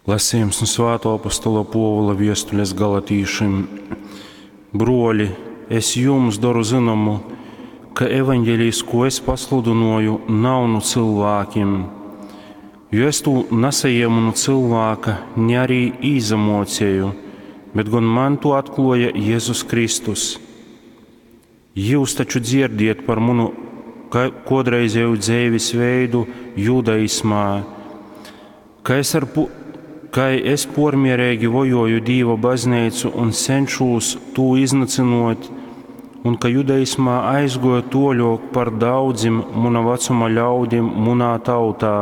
Lasījums nu Svātō apostola Pōvula viestules galatīšim. Bruoļi, es jums doru zynomu, ka evaņģelijs, ko es pasludynoju, nav nu cylvākim. Jo es tū nasajiemu nu cylvāka, ni arī īsamōceju, bet gon man tū atklōja Jezus Kristus. Jyus taču dzierdiet par munu kōdreizēju dzeivis veidu judaismā, ka es, ar, kai es pōrmiereigi vojōju Dīva bazneicu un cenšūs tū iznycynōt, un ka judaismā aizgōju tōļōk par daudzim muna vacuma ļaudim munā tautā,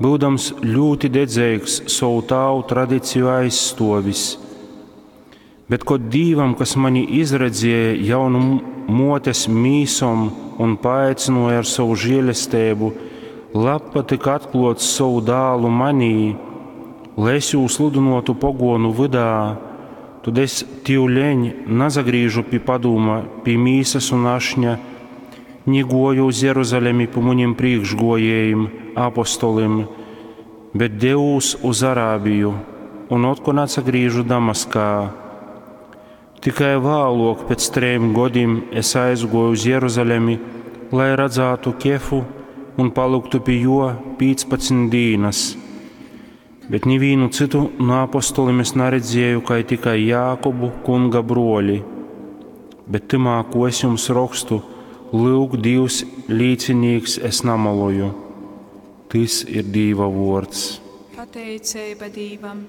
byudams ļūti dedzeigs sovu tāvu tradiciju aizstōvis. Bet kod Dīvam, kas mani izredzēja jau nu mōtes mīsom un paaicynōja ar sovu žēlesteibu, labpatyka atklōt sovu dālu manī, lai es jū sludynōtu pogōnu vydā, tad es tivleņ nasagrīžu pi padūma, pi mīsas un ašņa, ni gōju uz Jeruzalemi pi munim prīkšgōjējim, apostolim, bet devūs uz Arābiju un otkon atsagrīžu Damaskā. Tikai vālōk pēc trejim godim es aizgōju uz Jeruzalemi, lai radzātu Kefu un palyktu pi jō 15 dīnas. Bet nivīnu cytu nu apostolim es naredzēju, kai tikai Jākobu, kunga brōli. Bet tymā, ko es jums rokstu, lyuk, Dīvs līcinīks, es namaloju. Tys ir Dīva vōrds. Pateiceiba Dīvam.